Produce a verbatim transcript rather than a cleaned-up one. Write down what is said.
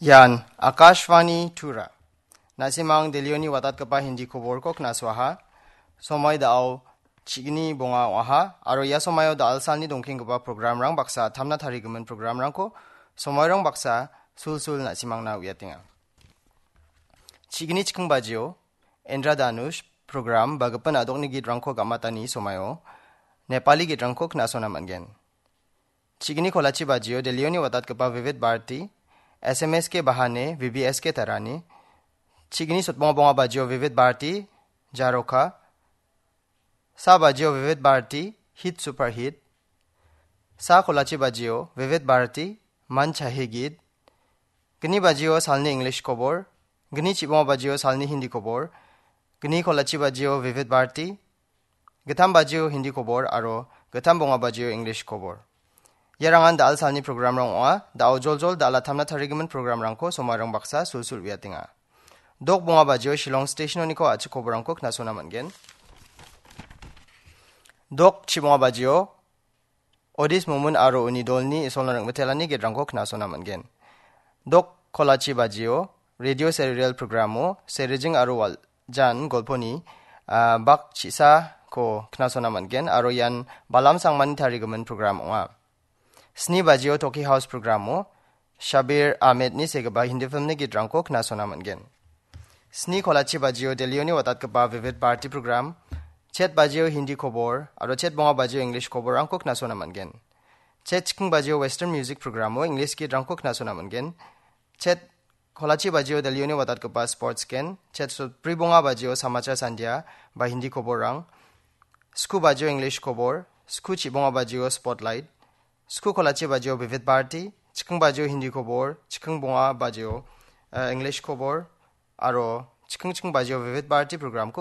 Ian Akashvani Tura. Na·simang Delhioni watatgipa Hindi koborko knasoaha. Somoi da·o chigni bonga ong·aha, aro ia somoio da·alsalni dongkenggipa programrang baksa tamna tarigimin programrangko somoirang baksa sulsul na·simangna uiatenga. Chigni chikking bajio Indra Dhanush program ba gipin adokni gitrangko gamatani somoio Nepali gitrangko knasona man·gen. Chigni kolachi bajio Delhioni watatgipa Vivid Bharati, S M S K Bahane, V B S K Tarani. Chigni sotbonga bonga bajio Vivid Bharati, Jaroka. Sa bajio Vivid Bharati, Hit Super Hit. Sa kolachi bajio Vivid Bharati, Man Chahe Geet. Gni bajio salni English kobor. Gni chibonga bajio salni Hindi kobor. Gni kolachi bajio Vivid Bharati. Gittam bajio Hindi kobor aro gittam bonga bajio English kobor. Iarangan da·alsalni programrang ong·a. Da·o joljol da·ala tamna tarigimin programrangko somoirang baksa sulsul uiatenga. Dok bonga bajio Shillong Stationoniko a·chik koborrangko knasona man·gen. Dok chibonga bajio Odis Momin aro uni dolni Isolna ring·mitelani gitrangko knasona man·gen. Dok kolachi bajio Radio Serial programo Serijing aro Waljan golponi, ah, bak chisako knasona man·gen aro ian Balam Sangmani tarigimin program ong·a. Sni bajio Toki House programo Shabir Ahmedni segipa Hindi filmni gitrangko knasona man·gen. Sni kolachi bajio Delhioni watatgipa Vivid Bharati program, chet bajio Hindi kobor aro chet bonga bajio English koborrangko knasona man·gen. Chet chikking bajio Western Music programo English gitrangko knasona man·gen. Chet kolachi bajio Delhioni watatgipa Sports Gen, chet sotbri bonga bajio Samachar Sandhya ba Hindi koborrang, sku bajio English kobor, sku chibonga bajio Spotlight, sku kolachi bajio Vivid Bharati, chikking bajio Hindi kobor, chikking bonga bajio, eh, English kobor, aro chikking chikking bajio Vivid Bharati programko